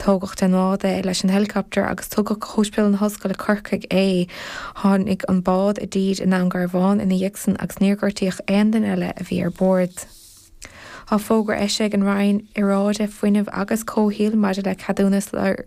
Tógadh den bhád é leis an helicopter agus tugadh go hOspidéal na hOllscoile Corcaigh é. Tháinig an bád i dtír i nDún Garbhán ina dhiaidh san agus níor gortaíodh aon duine eile a bhí ar bord. Tá fógra eisithe ag an Roinn Aeráide, Fuinnimh agus Comhshaoil maidir le ceadúnas lorg.